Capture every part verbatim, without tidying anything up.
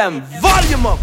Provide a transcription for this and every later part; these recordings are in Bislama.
Volume up.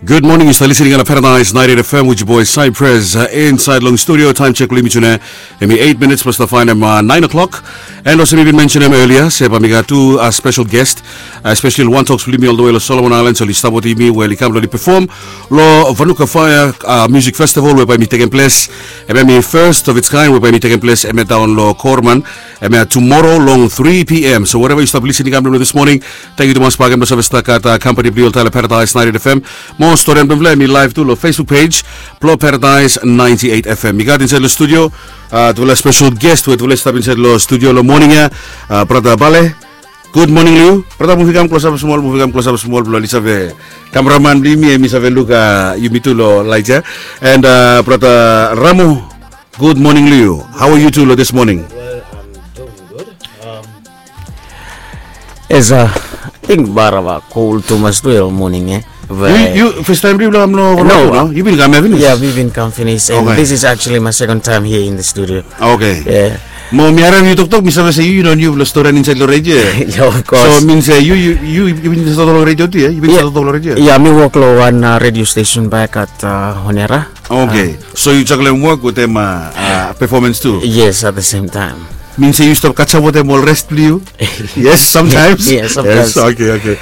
Good morning, yu stap listening on Paradise ninety-eight F M with your boy Cypress uh, inside long studio. Time check limit tune. Emi eight minutes plus the fine um, uh, nine o'clock. And also mi bin mention him earlier. Se ba mi gat tu uh, special guest, uh, especially one talks with me all the way lo Solomon Islands. So li stap with me where li kam lo li perform lo Vanuka Fire uh, Music Festival whereby mi taking place. Emi first of its kind whereby mi taking place. Emi down lo Korman. Emi tomorrow long three p.m. So wherever you stop listening, I'm this morning. Thank you tumas bagen blong save stap gat uh, company blong yu oltaem lo Paradise ninety-eight F M. Mo stori blong blong mi live tu lo Facebook page blong Paradise ninety-eight F M. Mi gat insaed lo studio uh, tufala special guest we tufala stap insaed lo studio lo morning ya. Uh, brata Bale. Good morning lo yu. Brata muvi kam klosap smol, muvi kam klosap smol blong li save kameraman blong yumi, emi save luk uh, yumi tu lo light ya. And uh, brata Ramo. Good morning lo yu. How are you two lo this morning? Well, I'm doing good. Um, Esa, I think bara ba cold tumas tu ya morning eh. Yu yu first time blong yu blong kam lo Vanuatu no? Yu bin kam ya finis? Yeah, mi bin kam finis and Okay. This is actually my second time here in the studio. Okay. Yeah. Mo mi harem yu toktok mi save se yu yu no niu blong storian insaed lo radio. Yeah, of course. So min se yu yu yu yu bin save toktok lo radio tu ya? Yu bin save toktok lo radio? Yeah, mi wok lo wan uh, radio station back at uh, Honera. Okay. So yu juggle wok wetem uh, uh, performance tu? Yes, at the same time. Min se yu stap kachap wetem ol rest blong yu? Yes, sometimes. Yes, sometimes. Okay, okay.